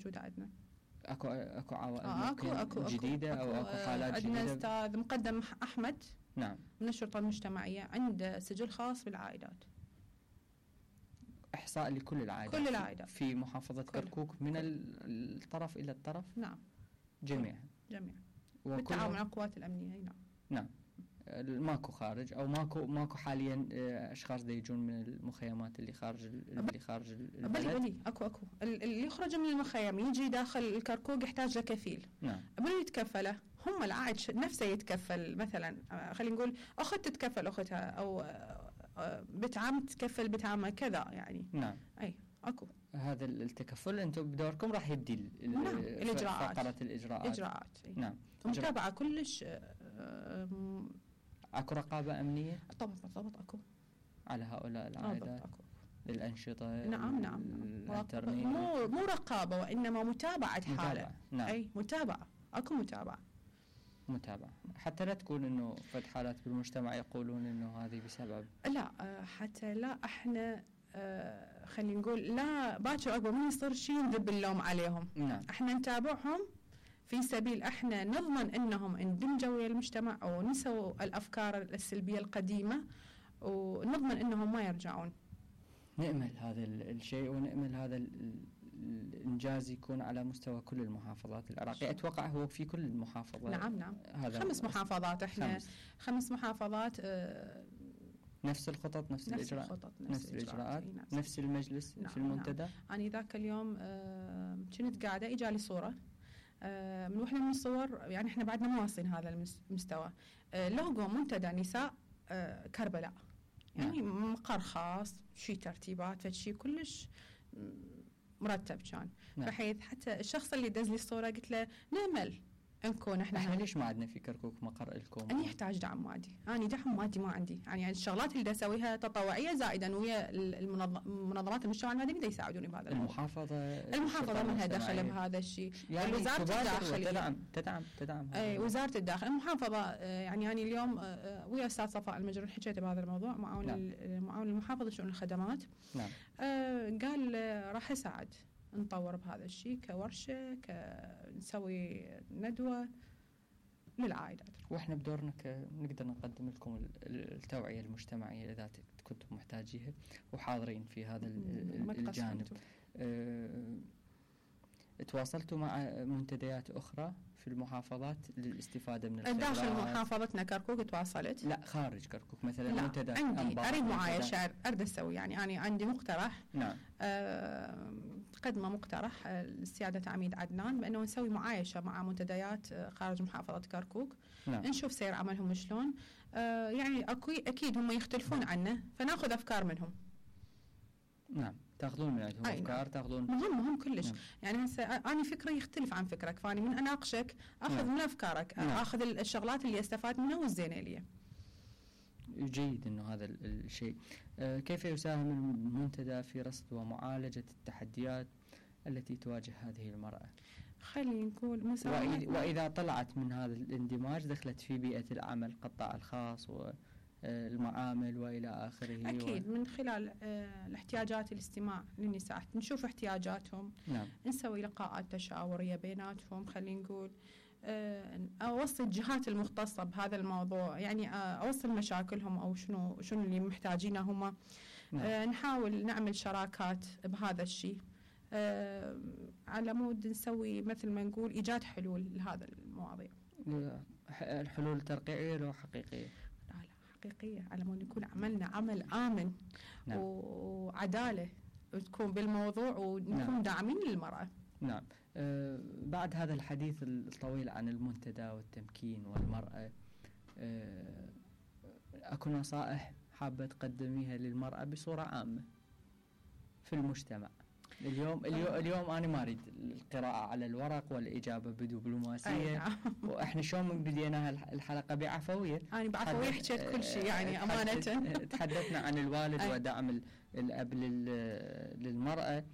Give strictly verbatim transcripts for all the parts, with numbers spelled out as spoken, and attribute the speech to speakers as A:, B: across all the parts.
A: موجودة عندنا.
B: اكو اكو عوائل
A: آه أكو أكو
B: جديدة
A: أكو
B: او اكو حالات
A: عندنا
B: جديدة؟
A: استاذ مقدم احمد
B: نعم
A: من الشرطة المجتمعية عنده سجل خاص بالعائلات.
B: احصاء لكل العائلات
A: كل العائلات
B: في محافظة كل. كركوك من كل. الطرف الى الطرف؟
A: نعم
B: جميعا
A: جميعا بالتعاون مع القوات الامنية. نعم
B: نعم. ماكو خارج او ماكو ماكو حاليا اشخاص دا يجون من المخيمات اللي خارج اللي خارج البلد؟
A: بلي بلي اكو اكو اللي يخرج من المخيم يجي داخل الكركوك يحتاج له كفيل.
B: نعم.
A: من يتكفله هم العائد نفسه يتكفل. مثلا خلينا نقول اخت تتكفل اختها او بنت عم تتكفل بنت عمها كذا يعني.
B: نعم.
A: اي اكو
B: هذا التكفل انتم بدوركم راح يبدي
A: نعم. الاجراءات
B: فقرة الاجراءات
A: اجراءات.
B: نعم.
A: متابعة كلش.
B: اكو رقابة امنية؟
A: طبعا طبعا اكو
B: على هؤلاء العائلات.
A: اكو
B: الانشطة.
A: نعم نعم. مو مو رقابة وانما متابعة حالة.
B: نعم.
A: اي متابعة اكو متابعة.
B: متابعة حتى لا تكون انه فد حالات بالمجتمع يقولون انه هذه بسبب.
A: لا حتى لا احنا آه خلينا نقول لا باكر عقب من يصير شيء نذب اللوم عليهم.
B: نعم.
A: احنا نتابعهم في سبيل احنا نضمن انهم اندمجوا ويا المجتمع او نسوا الافكار السلبية القديمة ونضمن انهم ما يرجعون.
B: نأمل هذا الشيء ونأمل هذا الإنجاز يكون على مستوى كل المحافظات العراقية. أتوقع هو في كل المحافظات.
A: نعم نعم.
B: هذا
A: خمس محافظات احنا خمس, خمس محافظات. اه
B: نفس الخطط نفس,
A: نفس
B: الإجراءات
A: الخطط
B: نفس,
A: نفس
B: الإجراءات
A: نفس,
B: نفس المجلس.
A: نعم
B: في المنتدى.
A: نعم. أنا ذاك اليوم اه كنت قاعدة إجالي صورة اه من وحدة من الصور يعني احنا بعدنا ما واصلين هذا المستوى. اه لوجو منتدى نساء اه كربلاء يعني نعم. مقر خاص شيء ترتيبات فشي كلش مرتب كان. نعم. بحيث حتى الشخص اللي دز لي الصورة قلت له نأمل نكون احنا
B: احنا ليش ما عندنا في كركوك مقر لكم؟
A: أنا يحتاج دعم مادي. أنا دعم مادي ما عندي يعني الشغلات اللي دا أسويها تطوعية زائدا ويا المنظمات المجتمع المدني دا يساعدوني بهذا الموضوع.
B: المحافظة
A: المحافظة منها دخل بهذا الشيء
B: يعني
A: وزارة الداخلية
B: تدعم تدعم تدعم
A: اي وزارة الداخل المحافظة يعني أنا اليوم ويا أستاذ صفاء المجرون حكيت بهذا الموضوع معاون نعم. معاون المحافظة شؤون الخدمات.
B: نعم.
A: آه قال راح يساعد نطور بهذا الشيء كورشة كنسوي ندوة للعائلات.
B: واحنا بدورنا نقدر نقدم لكم التوعية المجتمعية اذا كنتم محتاجيها وحاضرين في هذا الجانب. أه تواصلتوا مع منتديات اخرى في المحافظات للاستفادة من الخبرات؟
A: داخل محافظتنا كركوك تواصلت.
B: لا خارج كركوك مثلا منتدى
A: عندي اريد معايشة اريد اسوي يعني انا عندي مقترح.
B: نعم.
A: أه قدمه مقترح السيادة عميد عدنان بانه نسوي معايشة مع منتديات خارج محافظة كركوك.
B: نعم.
A: نشوف سير عملهم شلون. أه يعني اكيد هم يختلفون عنا فناخذ افكار منهم.
B: نعم تاخذون من عندهم افكار تاخذون
A: مهم مهم كلش. نعم. يعني هسه انا فكري يختلف عن فكرك فاني من اناقشك اخذ نعم. من افكارك. نعم. اخذ الشغلات اللي استفاد منها والزينه لي.
B: جيد انه هذا الشيء. آه كيف يساهم المنتدى في رصد ومعالجه التحديات التي تواجه هذه المراه؟
A: خلينا نقول
B: مساهمة واذا طلعت من هذا الاندماج دخلت في بيئه العمل القطاع الخاص و المعامل وإلى آخره.
A: أكيد و... من خلال آه الاحتياجات الاستماع للنساء نشوف احتياجاتهم.
B: نعم.
A: نسوي لقاءات تشاورية بيناتهم خلينا نقول آه أوصل الجهات المختصة بهذا الموضوع يعني آه أوصل مشاكلهم أو شنو شنو اللي محتاجينه هم. نعم. آه نحاول نعمل شراكات بهذا الشيء آه على مود نسوي مثل ما نقول إيجاد حلول لهذا المواضيع.
B: الحلول ترقيعية لو حقيقية؟
A: حقيقية على مود يكون عملنا عمل آمن. نعم. وعدالة وتكون بالموضوع ونكون نعم. داعمين للمرأة.
B: نعم. أه بعد هذا الحديث الطويل عن المنتدى والتمكين والمرأة أه أكو نصائح حابة تقدميها للمرأة بصورة عامة في المجتمع اليوم؟ اليوم, اليوم أنا ما أريد القراءة على الورق والإجابة بدبلوماسية.
A: نعم.
B: وإحنا شلون من بديناها الحلقة بعفوية.
A: أنا بعفوية حكيت كل شيء يعني أمانة.
B: تحدثنا عن الوالد ودعم الأب للمرأة.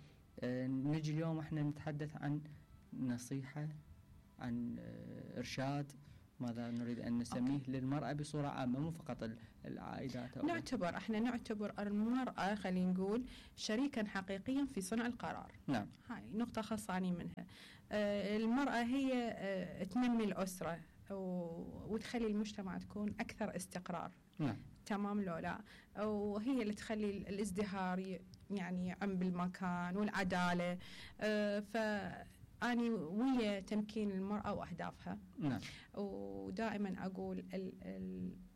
B: نجي اليوم إحنا نتحدث عن نصيحة عن إرشاد ماذا نريد أن نسميه أوكي. للمرأة بصورة عامة، مو فقط العائدات.
A: نعتبر احنا نعتبر المرأة خلينا نقول شريكا حقيقيا في صنع القرار.
B: نعم.
A: هاي نقطة خاصة منها. آه المرأة هي آه تنمي الأسرة وتخلي المجتمع تكون أكثر استقرار.
B: نعم.
A: تمام لو لا، وهي اللي تخلي الازدهار يعني يعم بالمكان والعدالة. آه فأني ويا تمكين المرأة وأهدافها.
B: نعم.
A: ودائما أقول ال ال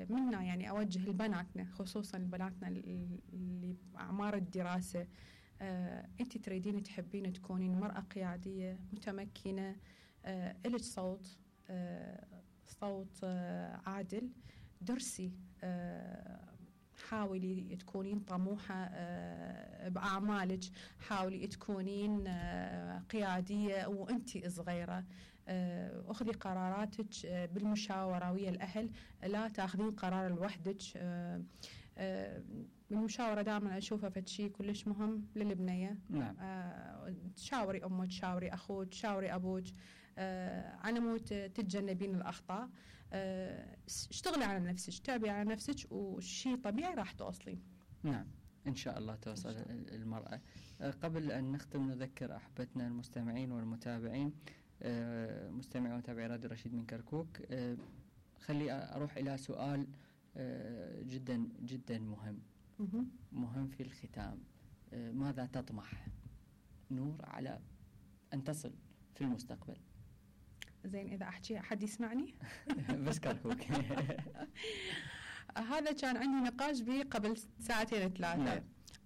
A: منا يعني أوجه لبناتنا، خصوصا بناتنا اللي بأعمار الدراسة، آه أنت تريدين تحبين تكونين مرأة قيادية متمكنة، آه إلك صوت، آه صوت آه عادل، درسي، آه حاولي تكونين طموحة آه بأعمالك، حاولي تكونين آه قيادية وأنت صغيرة، آه أخذي قراراتك آه بالمشاورة ويا الأهل، لا تاخذين قرار لوحدك. آه آه المشاورة دائما أشوفها فشي كلش مهم للبنية.
B: نعم.
A: آه تشاوري أمك، تشاوري أخوك، تشاوري أبوك، آه على مود تتجنبين الأخطاء. آه اشتغلي على نفسك، تابعي على نفسك، وشي طبيعي راح توصلين.
B: نعم إن شاء الله توصل شاء الله. المرأة. آه قبل أن نختم نذكر أحبتنا المستمعين والمتابعين، آه مستمعي ومتابعي راديو رشيد من كركوك، آه خلي أروح إلى سؤال آه جدا جدا مهم مهم في الختام. آه ماذا تطمح نور على أن تصل في المستقبل؟
A: زين إذا أحكي حد يسمعني؟
B: بس كركوك.
A: هذا كان عندي نقاش به قبل ساعتين ثلاثة.
B: نعم.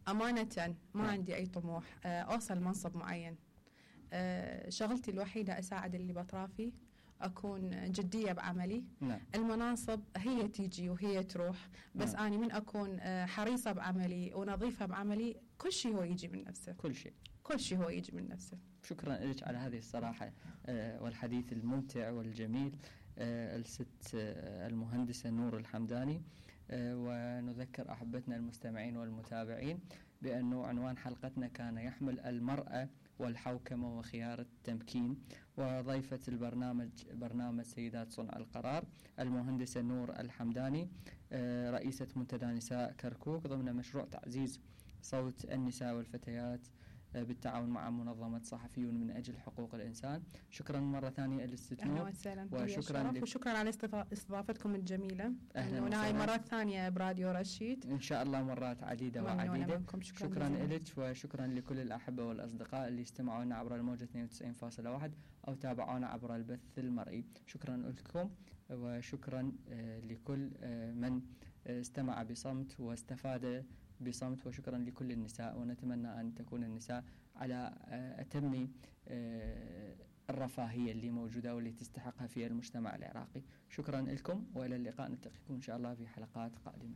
A: أمانة ما
B: نعم.
A: عندي أي طموح أوصل منصب معين. شغلتي الوحيدة أساعد اللي بأطرافي، أكون جدية بعملي.
B: نعم.
A: المناصب هي تيجي وهي تروح، بس
B: نعم.
A: أنا من أكون حريصة بعملي ونظيفة بعملي، كل شيء هو يجي من نفسه.
B: كل شيء
A: كل شيء هو يجي من نفسه.
B: شكرا لك على هذه الصراحة والحديث الممتع والجميل، الست المهندسة نور الحمداني. ونذكر أحبتنا المستمعين والمتابعين بأنه عنوان حلقتنا كان يحمل المرأة والحوكمة وخيار التمكين، وضيفة البرنامج برنامج سيدات صنع القرار المهندسة نور الحمداني، رئيسة منتدى نساء كركوك ضمن مشروع تعزيز صوت النساء والفتيات بالتعاون مع منظمة صحفيون من أجل حقوق الإنسان. شكرا مرة ثانية للست نور،
A: وشكرا لك وشكرا على استضافتكم الجميلة.
B: أهلا
A: وسهلا مرة ثانية براديو رشيد
B: إن شاء الله مرات عديدة وعديدة.
A: شكرا,
B: شكرا لك وشكرا لكل الأحبة والأصدقاء اللي استمعونا عبر الموجة اثنين وتسعين فاصلة واحد أو تابعونا عبر البث المرئي. شكرا لكم وشكرا لكل من استمع بصمت واستفاد بصمت، وشكرا لكل النساء، ونتمنى أن تكون النساء على أتم الرفاهية اللي موجودة واللي تستحقها في المجتمع العراقي. شكرا لكم وإلى اللقاء، نلتقيكم إن شاء الله في حلقات قادمة.